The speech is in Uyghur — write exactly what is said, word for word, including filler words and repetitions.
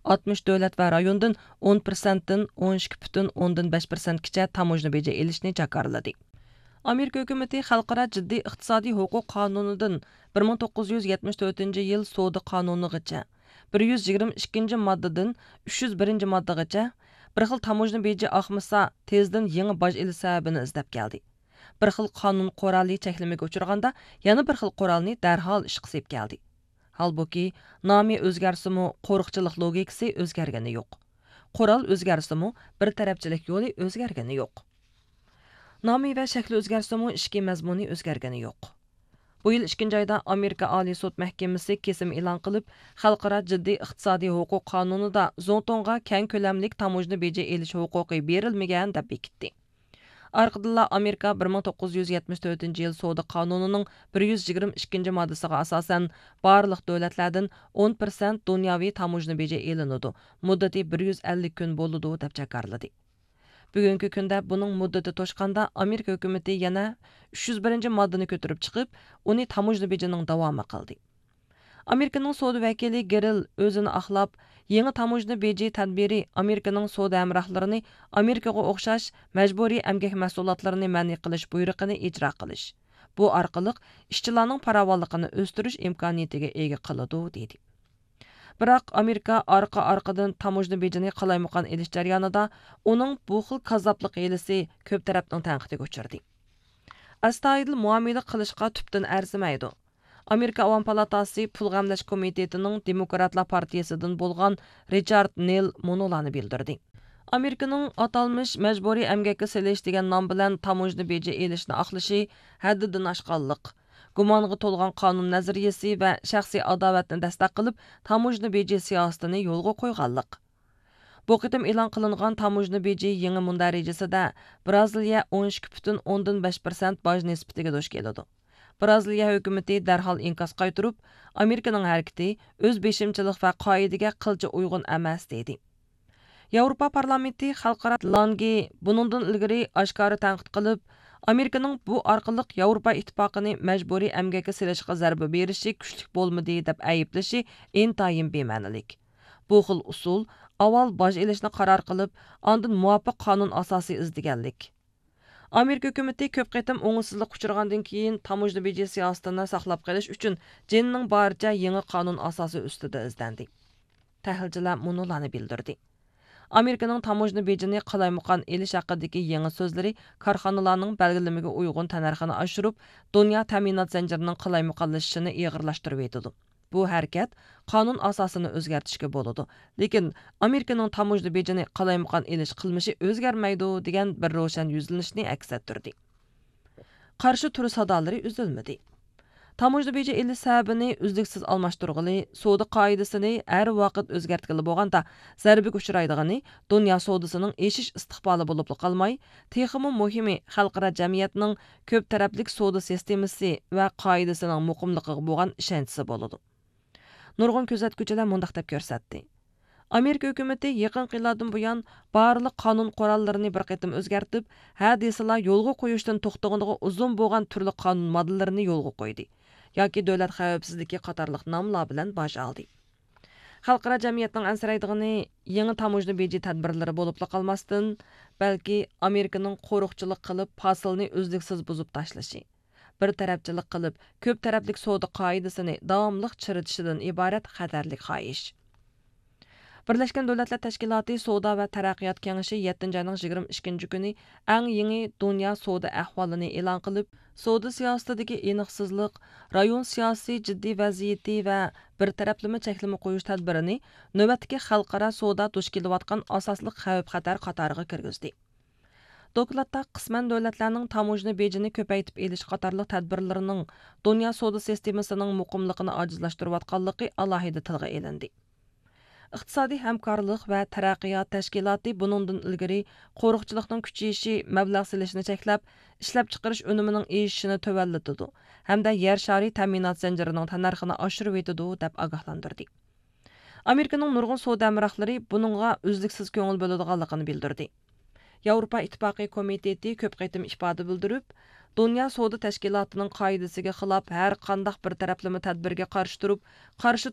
ئاتمىش دۆلەت ۋە رايوندىن ئون پىرسەنتتىن ئون ئىككى پۈتۈن ئوندىن بەش پىرسەنتكىچە تاموژنا بېجى ئېلىشنى جاكارلىدى. ئامېرىكا ھۆكۈمىتى خەلقئارا جىددىي ئىقتىسادىي ھوقۇق قانۇنىدىن بىر مىڭ توققۇز يۈز يەتمىش تۆتىنچى يىل سودا قانۇنىغىچە، بىر يۈز يىگىرمە ئىككىنچى ماددىدىن ئۈچ يۈز بىرىنچى ماددىغىچە، بىر خىل تاموژنا بېجى ئاقمىسا، تېزدىن يېڭى باج ئېلىش سەۋەبىنى ئىزدەپ كەلدى. بىر خىل قانۇن قورالى چەكلىمىگە ئۇچرىغاندا، يەنە بىر خىل قورالنى دەرھال ئىشقا سېلىپ كەلدى. ھالبۇكى، نامى ئۆزگەرسىمۇ، قورۇقچىلىق لوگىكىسى ئۆزگەرگىنى يوق. قورال ئۆزگەرسىمۇ، بىر تەرەپچىلىك يولى ئۆزگەرگىنى يوق. نامى ۋە شەكلى ئۆزگەرسىمۇ، ئىچكى مەزمۇنى ئۆزگەرگىنى يوق. بۇ يىل ئىككىنچى ئايدا ئامېرىكا ئالىي سوت مەھكىمىسى كېسىم ئېلان قىلىپ، خەلقئارا جىددىي ئىقتىسادىي ھوقۇق قانۇنىدا زۇڭتۇڭغا كەڭ كۆلەملىك تاموژنا بېجى ئېلىش ھوقۇقى بېرىلمىگەن دەپ بېكىتتى. ئارقىدىنلا ئامېرىكا بىر مىڭ توققۇز يۈز يەتمىش تۆتىنچى يىل سودا قانۇنىنىڭ بىر يۈز يىگىرمە ئىككىنچى ماددىسىغا ئاساسەن، بارلىق دۆلەتلەردىن ئون پىرسەنت دۇنياۋى تاموژنا بېجى ئېلىنىدۇ، مۇددىتى بىر يۈز ئەللىك كۈن بولىدۇ، دەپ جاكارلىدى. بۈگۈنكى كۈندە بۇنىڭ مۇددىتى توشقاندا، ئامېرىكا ھۆكۈمىتى يەنە ئۈچ يۈز بىرىنچى ماددىنى كۆتۈرۈپ چىقىپ، ئۇنى تاموژنا بېجىنىڭ داۋامى قىلدى. ئامېرىكىنىڭ سودا ۋەكىلى گېرىل ئۆزىنى ئاقلاپ، يېڭى تاموژنا بېجى تەدبىرى ئامېرىكىنىڭ سودا ھەمراھلىرىنى ئامېرىكىغا ئوخشاش مەجبۇرىي ئەمگەك مەھسۇلاتلىرىنى مەنئى قىلىش بۇيرۇقىنى ئىجرا قىلىش، بۇ ئارقىلىق ئىشچىلارنىڭ پاراۋانلىقىنى ئۆستۈرۈش ئىمكانىيىتىگە ئىگە قىلىدۇ، دېدى. بىراق ئامېرىكا ئارقا-ئارقىدىن تاموژنا بېجىنى قالايمىقان ئېلىش جەريانىدا ئۇنىڭ بۇ خىل كاززاپلىق ھىيلىسى كۆپ تەرەپنىڭ تەنقىدىگە ئۇچرىدى. ئەستايىدىل مۇئامىلە قىلىشقا تۈپتىن ئەرزىمەيدۇ. ئامېرىكا ئاۋام پالاتاسى پۇل غەملەش كومىتېتىنىڭ دېموكراتلار پارتىيىسىدىن بولغان رىچارد نېل مۇنۇلارنى بىلدۈردى. ئامېرىكىنىڭ ئاتالمىش مەجبۇرىي ئەمگەككە سېلىش دېگەن نام بىلەن تاموژنا بېجى ئېلىشنى ئاقلىشى ھەددىدىن ئاشقانلىق، گۇمانغا تولغان قانۇن نەزەرىيىسى ۋە شەخسىي ئاداۋەتنى دەستەك قىلىپ، تاموژنا بېجى سىياسىتىنى يولغا قويغانلىق. بۇ قېتىم ئېلان قىلىنغان تاموژنا بېجى يېڭى مۇندەرىجىسىدە برازىلىيە ئون ئىككى پۈتۈن ئوندىن بەش پىرسەنت باج نىسبىتىگە دۇچ كېلىدۇ. برازىلىيە ھۆكۈمىتى دەرھال ئىنكاس قايتۇرۇپ، ئامېرىكىنىڭ ھەرىكىتى ئۆز بېشىمچىلىق ۋە قائىدىگە قىلچە ئۇيغۇن ئەمەس، دېدى. ياۋروپا پارلامېنتى خەلقئارا لانگې بۇنىڭدىن ئىلگىرى ئاشكارا تەنقىد قىلىپ، ئامېرىكىنىڭ بۇ ئارقىلىق ياۋروپا ئىتتىپاقىنى مەجبۇرىي ئەمگەككە سېلىشقا زەربە بېرىشى كۈچلۈك بولمىدى، دەپ ئەيىبلىشى ئىنتايىن بىمەنىلىك. بۇ خىل ئۇسۇل ئاۋۋال باج ئېلىشنى قارار قىلىپ، ئاندىن مۇۋاپىق قانۇن ئاساسى ئىزدىگەنلىك. ئامېرىكا ھۆكۈمىتى كۆپ قېتىم ئوڭۇشسىزلىققا ئۇچرىغاندىن كېيىن، تاموژنا بېجى سىياسىتىنى ساقلاپ قېلىش ئۈچۈن جېنىنىڭ بارىچە يېڭى قانۇن ئاساسى ئۈستىدە ئىزدەندى. تەھلىلچىلەر مۇنۇلارنى بىلدۈردى. ئامېرىكىنىڭ تاموژنا بېجىنى قالايمىقان ئېلىش ھەققىدىكى يېڭى سۆزلىرى كارخانىلارنىڭ بەلگىلىمىگە ئۇيغۇن تەننەرخىنى ئاشۇرۇپ، دۇنيا تەمىنات زەنجىرىنىڭ قالايمىقانلىشىشىنى ئېغىرلاشتۇرۇۋېتىدۇ. بۇ ھەرىكەت قانۇن ئاساسىنى ئۆزگەرتىشكە بولىدۇ، لېكىن ئامېرىكىنىڭ تاموژنا بېجىنى قالايمىقان ئېلىش قىلمىشى ئۆزگەرمەيدۇ، دېگەن بىر روشەن يۈزلىنىشنى ئەكس ئەتتۈردى. قارشى تۇرۇش سادالىرى ئۈزۈلمىدى. تاموژنا بېجى ئېلىش سەۋەبىنى ئۈزلۈكسىز ئالماشتۇرغىلى، سودا قائىدىسىنى ھەر ۋاقىت ئۆزگەرتكىلى بولغاندا، زەربىگە ئۇچرايدىغىنى دۇنيا سودىسىنىڭ ئېشىش ئىستىقبالى بولۇپلا قالماي، تېخىمۇ مۇھىمى خەلقئارا جەمئىيەتنىڭ كۆپ تەرەپلىك سودا سىستېمىسى ۋە قائىدىسىنىڭ مۇقىملىقىغا بولغان ئىشەنچىسى بولىدۇ. نۇرغۇن كۆزەتكۈچىلەر مۇنداق دەپ كۆرسەتتى. ئامېرىكا ھۆكۈمىتى يېقىنقى يىللاردىن بۇيان بارلىق قانۇن قوراللىرىنى بىر قېتىم ئۆزگەرتىپ، ھە دېسىلا يولغا قويۇشتىن توختىغىنىغا ئۇزۇن بولغان تۈرلۈك قانۇن ماددىلىرىنى يولغا قويدى ياكى دۆلەت خەۋپسىزلىكى قاتارلىق ناملار بىلەن باج ئالدى. خەلقئارا جەمئىيەتنىڭ ئەنسىرەيدىغىنى يېڭى تاموژنا بېجى تەدبىرلىرى بولۇپلا قالماستىن، بەلكى ئامېرىكىنىڭ قورۇقچىلىق قىلىپ، پاسىلنى ئۈزلۈكسىز بۇزۇپ تاشلىشى، بىر تەرەپچىلىك قىلىپ، كۆپ تەرەپلىك سودا قائىدىسىنى داۋاملىق چىرىتىشىدىن ئىبارەت خەتەرلىك خاھىش. بىرلەشكەن دۆلەتلەر تەشكىلاتى سودا ۋە تەرەققىيات كېڭىشى يەتتىنچى ئاينىڭ يىگىرمە ئىككىنچى كۈنى ئەڭ يېڭى دۇنيا سودا ئەھۋالىنى ئېلان قىلىپ، سودا سىياسىتىدىكى ئېنىقسىزلىق، رايون سىياسىي جىددىي ۋەزىيىتى ۋە بىر تەرەپلىمە چەكلىمە قويۇش تەدبىرىنى نۆۋەتتىكى خەلقئارا سودا دۇچ كېلىۋاتقان ئاساسلىق خەۋپ خەتەر قاتارىغا كىرگۈزدى. دوكلاتتا قىسمەن دۆلەتلەرنىڭ تاموژنا بېجىنى كۆپەيتىپ ئېلىش قاتارلىق تەدبىرلىرىنىڭ دۇنيا سودا سىستېمىسىنىڭ مۇقىملىقىنى ئاجىزلاشتۇرۇۋاتقانلىقى ئالاھىدە تىلغا ئېلىندى. ئىقتىسادىي ھەمكارلىق ۋە تەرەققىيات تەشكىلاتى بۇنىڭدىن ئىلگىرى قورۇقچىلىقنىڭ كۈچىيىشى مەبلەغ سېلىشنى چەكلەپ، ئىشلەپچىقىرىش ئۈنۈمىنىڭ ئېشىشىنى تۆۋەنلىتىدۇ ھەمدە يەر شارى تەمىنات زەنجىرىنىڭ تەننەرخىنى ئاشۇرۇۋېتىدۇ، دەپ ئاگاھلاندۇردى. ئامېرىكىنىڭ نۇرغۇن سودا ھەمراھلىرى بۇنىڭغا ئۈزلۈكسىز كۆڭۈل بۆلىدىغانلىقىنى بىلدۈردى. ياۋروپا ئىتتىپاقى كومىتېتى كۆپ قېتىم ئىپادە بىلدۈرۈپ، دۇنيا سودا تەشكىلاتىنىڭ قائىدىسىگە خىلاپ ھەر قانداق بىر تەرەپلىمە تەدبىرگە قارشى تۇرۇپ، قارشى